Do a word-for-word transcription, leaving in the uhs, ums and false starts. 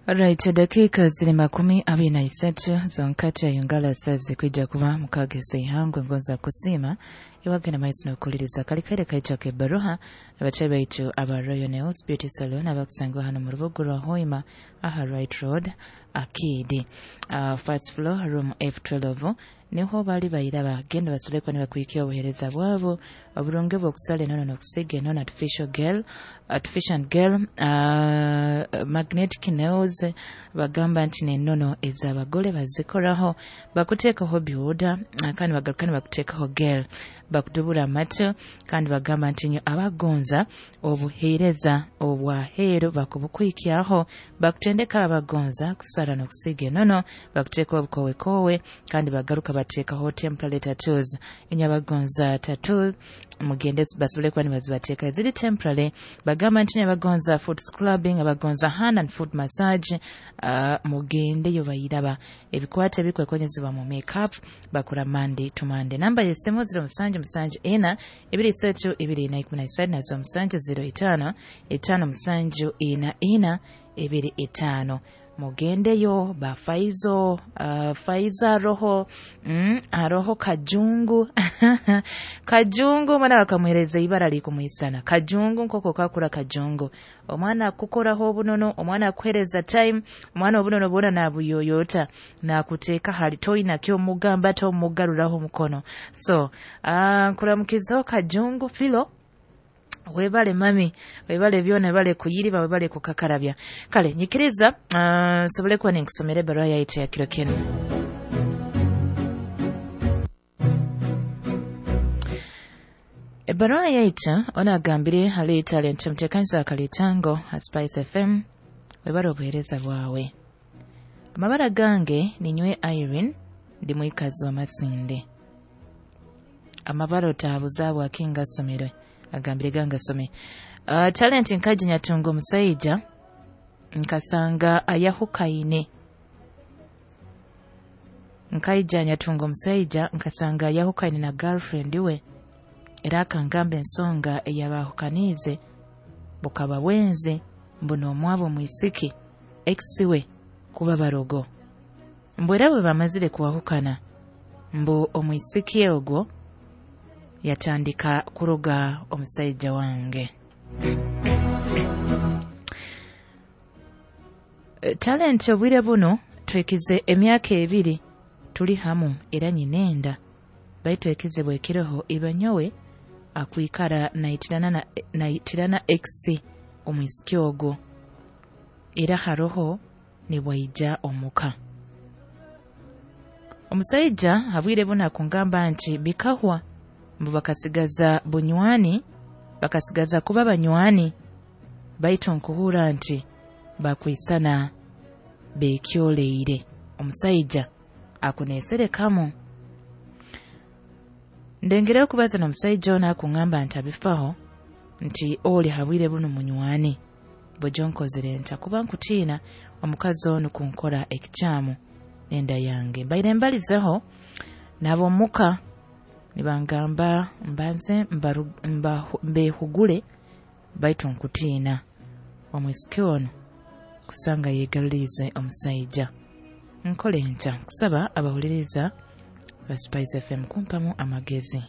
Alright, dakiika ziri makumi abiri na isatu zonkati ayungala sazi kwija kuba mukagesa ihangwe ngonza kusiima iwagenda maiso n'okukuliriza kalikaire kaija k'ebbaruha abatebe baitu aba Royal Nails Beauty Salon abakusangibwa hano mu rubuga rwa Hoima aha Right Road Arcade, uh, first floor room F twelve niho bali bayiraba. Genda basobole kuba nibakwikya obuheereza bwabo oburungi bw'okusala enono n'okusiiga enono, artificial gel, artificial gel, uh, magnetic nails. Bagamba nti n'enono ez'abagole bazikoraho, bakuteekaho byuda kandi bagaruka nibakuteekaho gel, bakudubura amatu. Kandi bagamba nti nyo abagonza obuheereza obwaheeru bakubukwikyaho, bakutendeka abagonza kusara n'okusiiga enono, bakuteekaho obukowekowe kandi bagaruka bateekaho temporary tattoos. Enyo abagonza tattoo mugende basobole kuba nibazibateeka ziri temporary. Bagamba nti abagonza foot scrubbing, abagonza hand and foot massage, uh, mugendeyo bayiraba ebikwate ebikwekonyezebwa mu makeup bakora Monday to Monday. Namba y'essimu zero musanju musanju ena ebiri isatu ebiri ina ikumi na isatu na zero musanju zero itaano etaano musanju ina ina ebiri etaano. Mugendeyo ba Faizo, uh, Faiza roho mm, aroho Kajungu Kajungu omwana bakamuhereza ibara likumwisana Kajungu nkoko kakura Kajungu. Omwana akukoraho obunono, omwana akuhereza time, omwana obunono bwona nabuyoyota nakuteeka hali toyina kyomugamba tomugaruraho mukono. So uh, nkuramukizaho Kajungu Filo, webale mami, webale byona, webale kuyiriba, webale kukakarabya. Kale nyikiriza uh, nsobole kuba ninkusomera ebbaruha yaitu ya kiro kinu. Ebbaruha yaitu ono agambire hali talent mutekanisa akalitango ha Spice F M, webale obuheereza bwawe. Amabara gange ninywe Irene, ndi mwikazi wa Masinde. Amabara otabuzaabwa akinga somerwe agambire ganga some. Uh, talent nkaji nyatunga omusaija nkasanga ayahukaine. Nkaija nyatunga omusaija nkasanga ayahukaine na girlfriend we, era akangamba ensonga eyabahukaniize bukaba bwenzi mbu n'omwabo mwisiki ex we kuba barogo. Mbu era bwe bamazire kuwahukana mbu omwisiki ogwo yatandika kuroga omusaija wange. Talent obwire buno twekize emyaka ebiri tuli hamu era nyinenda baitu ekize bwekiroho ibanyowe akwikara naitirana na naitirana ex omwisiki ogwo era haroho nibwaija omuka. Omusaija habwire buno akungamba nti bikahwa mbu bakasigaza bunywani, bakasigaza kuba banywani baitu nkuhura nti bakwisana bekyoleire. Omusaija akuneserekamu. Ndengere okubaza n'omusaija ono akungamba nti abifaho nti oli habwire buno munywani bojonkozere nta kuba nkutiina omukazi ono kunkora ekikyamu nenda yange. Mbaire mbalizeho n'ab'omuka nibangamba mbanze mbehugule baitu nkutiina omwisiki ono kusanga yeegaluliize omusaija. Nkole nta? Nkusaba abahuliriza ba Spice F M kumpamu amagezi.